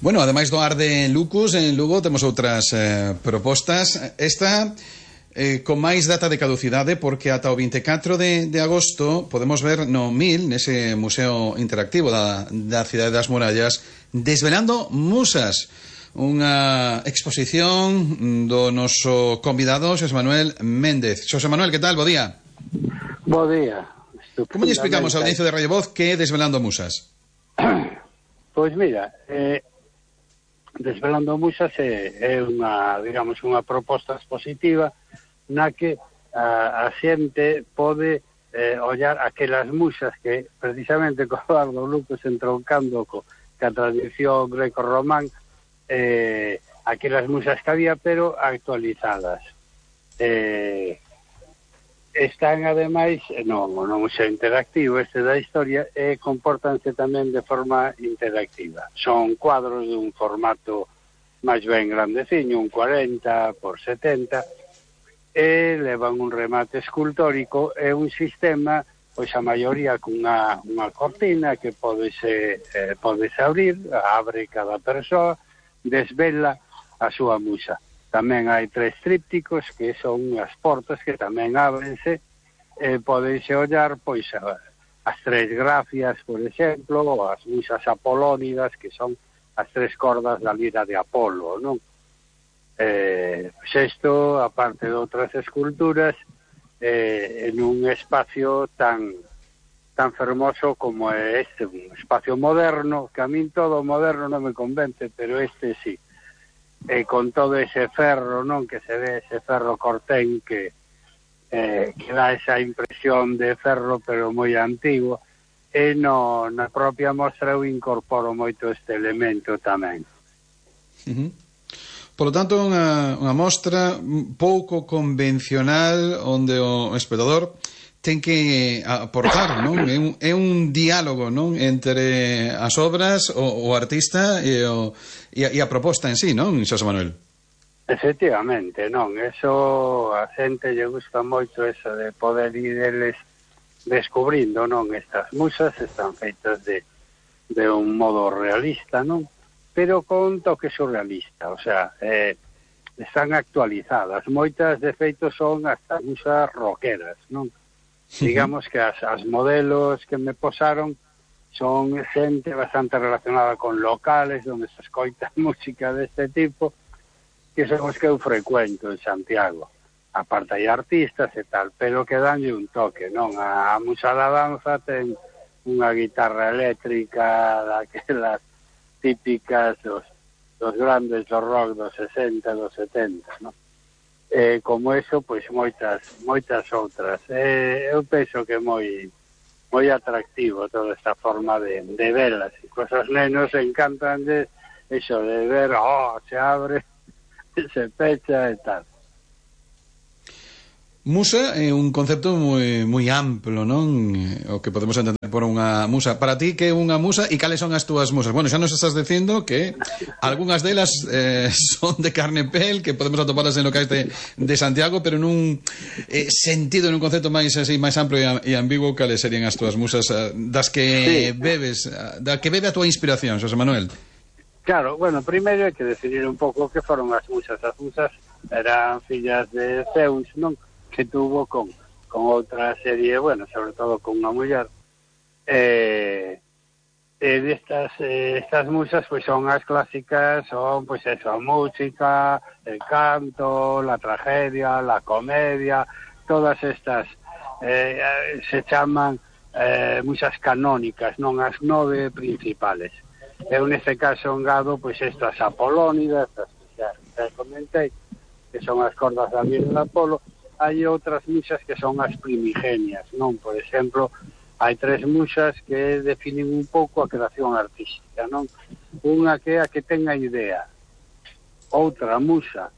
Bueno, ademais do ar de Lucus, en Lugo temos outras propostas. Esta con máis data de caducidade, porque ata o 24 de agosto podemos ver no MIL, nese museo interactivo da Cidade das Murallas, Desvelando Musas, unha exposición do noso convidado Xosé Manuel Méndez. Xosé Manuel, que tal? Bo día. Bo día. Como lle explicamos ao inicio de Radio Voz que é Desvelando Musas? Pois mira, Desvelando Musas é unha, digamos, unha proposta expositiva na que a xente pode ollar aquelas musas que precisamente co Eduardo Lucas entroncando ca tradición greco-román, aquelas musas que había pero actualizadas. Están ademais no museo interactivo este da historia e compórtanse tamén de forma interactiva. Son cuadros dun formato máis ben grandeciño, un 40 por 70, e levan un remate escultórico e un sistema, pois a maioría cunha cortina que podese abrir, abre cada persoa, desvela a súa musa. Tamén hai 3 trípticos que son as portas que tamén ábrense, podense ollar pois as 3 grafias, por exemplo, ou as musas apolónidas, que son as 3 cordas da lira de Apolo, non? Isto, aparte de outras esculturas, en un espacio tan fermoso como é este, un espacio moderno, que a min todo moderno non me convence, pero este sí. Con todo ese ferro, non, que se ve, ese ferro cortén que dá esa impresión de ferro pero moi antigo, e na propia mostra eu incorporo moito este elemento tamén. Por lo tanto, unha mostra pouco convencional onde o espectador ten que aportar, non? É un diálogo, non, entre as obras, o artista e a proposta en sí, non, Xosé Manuel? Efectivamente, non, eso a xente lle gusta moito eso de poder ir eles descubrindo, non, estas musas están feitas de un modo realista, non, pero con toque surrealista, o sea, están actualizadas, moitas de feito son hasta musas rockeras, non? Digamos que as modelos que me posaron son xente bastante relacionada con locales onde se escoita música deste tipo, que son os que eu frecuento en Santiago. Aparte hai artistas e tal, pero que danlle un toque, non? A musa da danza ten unha guitarra eléctrica daquelas típicas dos grandes do rock dos 60 e dos 70, non? Como eso, pois moitas outras. Eu penso que é moi atractivo toda esta forma de velas. E cosas nenos encantanles eso de ver, se abre, se pecha e tal. Musa é un concepto moi amplo, non? O que podemos entender por unha musa. Para ti, que é unha musa e cales son as túas musas? Bueno, xa nos estás dicindo que algunhas delas son de carne e pel, que podemos atoparlas en locais de Santiago, pero nun sentido, nun concepto máis amplo e ambiguo, cales serían as túas musas das que bebes, da que bebe a túa inspiración, Xosé Manuel? Claro, bueno, primeiro hai que definir un pouco que foron as musas. As musas eran fillas de Zeus, non? Que tuvo con outra serie, bueno, sobre todo con unha muller, estas musas pois son as clásicas, son pois eso, a música, el canto, la tragedia, la comedia, todas estas se chaman musas canónicas, non as 9 principales. Eu neste caso engado pois estas apolónidas, estas que xa comentei, que son as cordas da lira de Apolo. Hai outras musas que son as primigenias, non? Por exemplo, hai 3 musas que definen un pouco a creación artística, non? Unha que é a que ten a idea, outra musa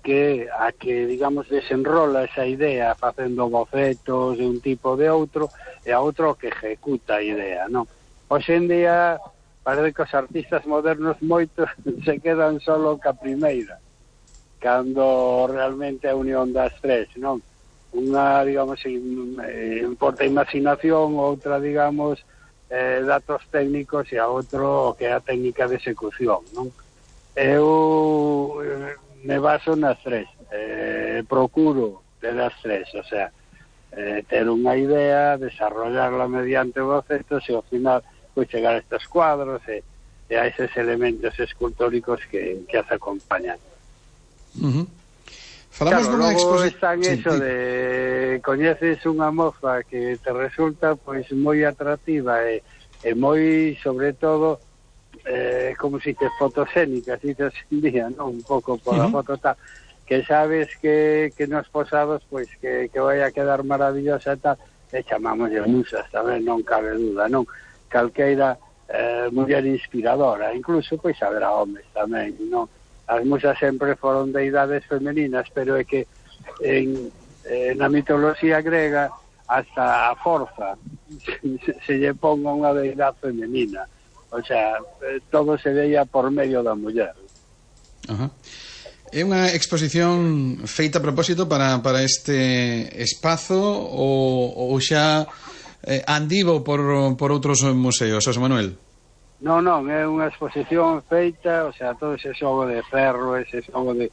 que a que, digamos, desenrola esa idea facendo bocetos de un tipo de outro, e a outra que ejecuta a idea, non? Hoxe en día parece que os artistas modernos moitos se quedan solo ca primeira, cando realmente a unión das 3, non? Unha, digamos, importa a imaginación, outra, digamos, datos técnicos e a outro que é a técnica de execución, non? Eu me baso nas tres, procuro ter as tres, o sea, ter unha idea, desarrollarla mediante bocetos e ao final pois chegar a estes cuadros e a eses elementos escultóricos que as acompañan. Falamos claro, dunha logo están eso de coñeces unha moza que te resulta pois moi atractiva e moi, sobre todo, como se dice, fotosénica, se dice en día, non? Un pouco por a foto tal, que sabes que nos posados, pois, que vai a quedar maravillosa e tal, e chamamos de musas tamén, non cabe duda, non? Calqueira muller inspiradora, incluso, pois, haberá homes tamén, non? As musas sempre foron deidades femeninas, pero é que na mitoloxía grega hasta a forza se lle ponga unha deidade femenina. O sea, todo se veía por medio da muller. Ajá. É unha exposición feita a propósito para este espazo ou xa andivo por outros museos, José Manuel? Non, é unha exposición feita, o sea, todo ese xogo de ferro, ese xogo de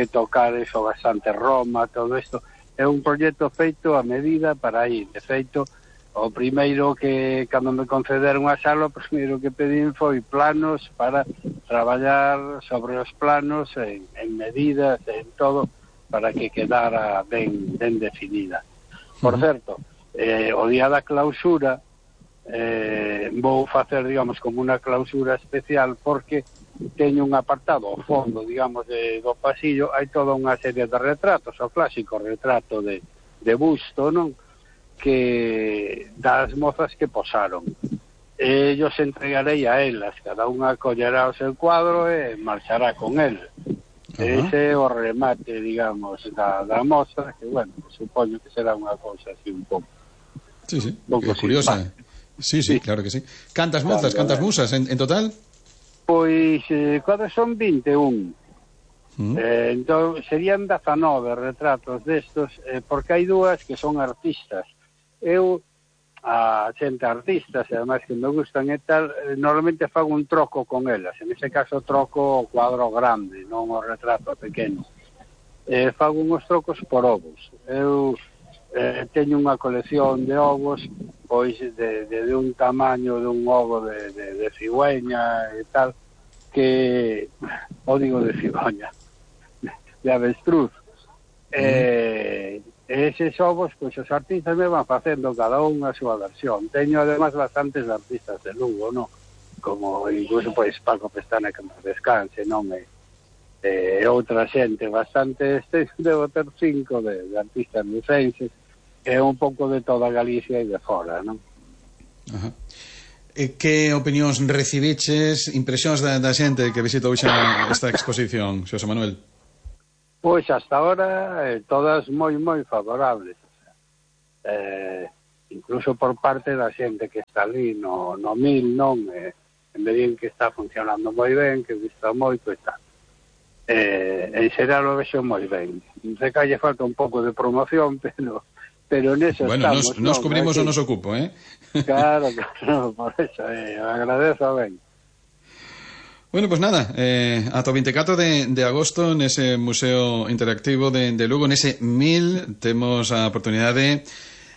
tocar eso bastante Roma, todo isto, é un proxecto feito a medida para ir. De feito, o primeiro que, cando me concederon a sala, o primeiro que pedín foi planos para traballar sobre os planos en medidas, en todo, para que quedara ben definida. Por certo, o día da clausura vou facer, digamos, como unha clausura especial, porque teño un apartado ao fondo, digamos, do pasillo, hai toda unha serie de retratos, o clásico retrato de busto, non? Que das mozas que posaron. Yo se entregarei a elas, cada unha collerá o seu cuadro e marchará con el. Ese é o remate, digamos, da mostra, que, bueno, supoño que será unha cousa así un pouco. Sí, curiosa. Sí, claro que sí. Cantas mozas, cantas musas en total? Pois, cuadros son 21. Entón, serían 19 retratos destos, porque hai dúas que son artistas. Eu, a xente artistas, e ademais que me gustan e tal, normalmente fago un troco con elas. En ese caso troco o cuadro grande, non o retrato pequeno. Fago uns trocos por ovos. Eu teño unha colección de ovos, pois de un tamaño de un ovo de cigüeña e tal, que, o digo de cigüeña, de avestruz. Eses ovos, pois os artistas me van facendo cada un a súa versión. Teño además bastantes artistas de Lugo, non? Como incluso pois Paco Pestana, que nos descanse, non? E outra xente bastante, debo ter 5 de artistas lucenses, e un pouco de toda Galicia e de fora, non? Ajá. Que opinións recibiches, impresións da xente que visitou xa esta exposición, Xosé Manuel? Pois hasta ahora todas moi favorables, o sea, incluso por parte da xente que está ali no MIL, non? Me din que está funcionando moi ben, que gusta moito e tal. En xeral o vexo moi ben. Non sei que lle falta un pouco de promoción, pero neso estamos. Bueno, nos cubrimos o noso cupo, Claro, por eso, agradezo ben. Bueno, pues nada, ata o 24 de agosto nese Museo Interactivo de Lugo, nese MIL, temos a oportunidade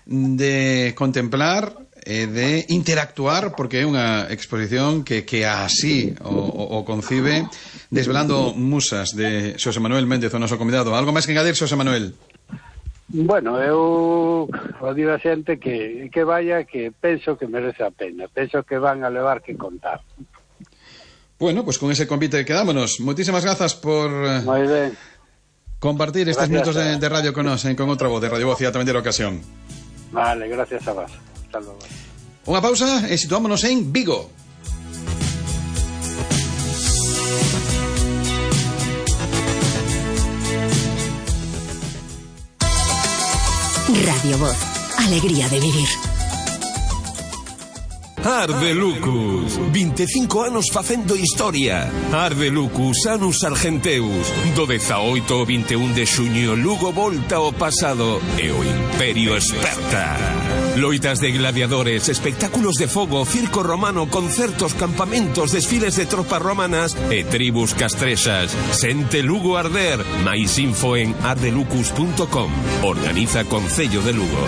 de contemplar e de interactuar, porque é unha exposición que así o concibe, desvelando musas de Xosé Manuel Méndez, o noso convidado. Algo máis que engadir, Xosé Manuel? Bueno, eu digo a xente que vaya, que penso que merece a pena, penso que van a levar que contar. Bueno, pues con ese convite quedámonos. Moitísimas grazas por compartir estes minutos de radio con nos, con outra voz de Radio Voz e tamén de la ocasión. Vale, gracias a vos. Hasta luego. Unha pausa e situámonos en Vigo. Radio Voz, alegría de vivir. Ardelucus, 25 anos facendo historia. Ardelucus, Anus Argenteus. Do 18 ao 21 de xuño, Lugo volta ao pasado e o Imperio esperta. Loitas de gladiadores, espectáculos de fogo, circo romano, concertos, campamentos, desfiles de tropas romanas e tribus castrexas. Sente Lugo arder. Mais info en ardelucus.com. Organiza Concello de Lugo.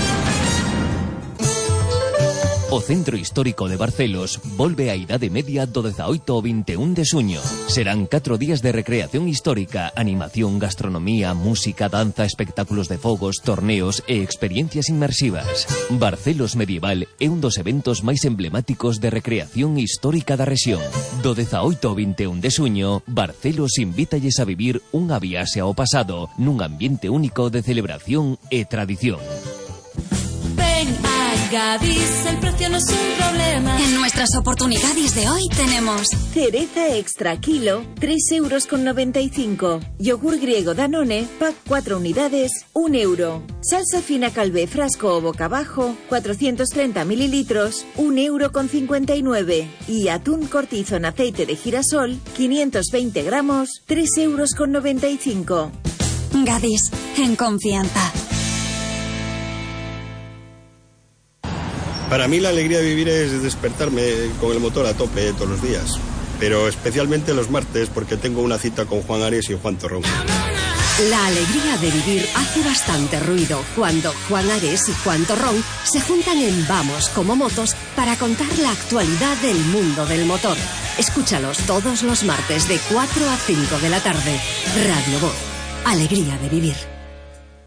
O Centro Histórico de Barcelos volve á Idade Media do 18 ao 21 de xuño. Serán 4 días de recreación histórica, animación, gastronomía, música, danza, espectáculos de fogos, torneos e experiencias inmersivas. Barcelos Medieval é un dos eventos máis emblemáticos de recreación histórica da rexión. Do 18 ao 21 de xuño, Barcelos invítalles a vivir unha viaxe ao pasado nun ambiente único de celebración e tradición. Gadis, el precio no es un problema. En nuestras oportunidades de hoy tenemos cereza extra kilo, 3,95 €. Yogur griego Danone, pack 4 unidades, 1 €. Salsa fina Calvé frasco o boca abajo, 430 mililitros, 1,59 €. Y atún cortizo en aceite de girasol, 520 gramos, 3,95 €. Gadis, en confianza. Para mí la alegría de vivir es despertarme con el motor a tope todos los días, pero especialmente los martes porque tengo una cita con Juan Ares y Juan Torrón. La alegría de vivir hace bastante ruido cuando Juan Ares y Juan Torrón se juntan en Vamos como Motos para contar la actualidad del mundo del motor. Escúchalos todos los martes de 4 a 5 de la tarde. Radio Voz. Alegría de vivir.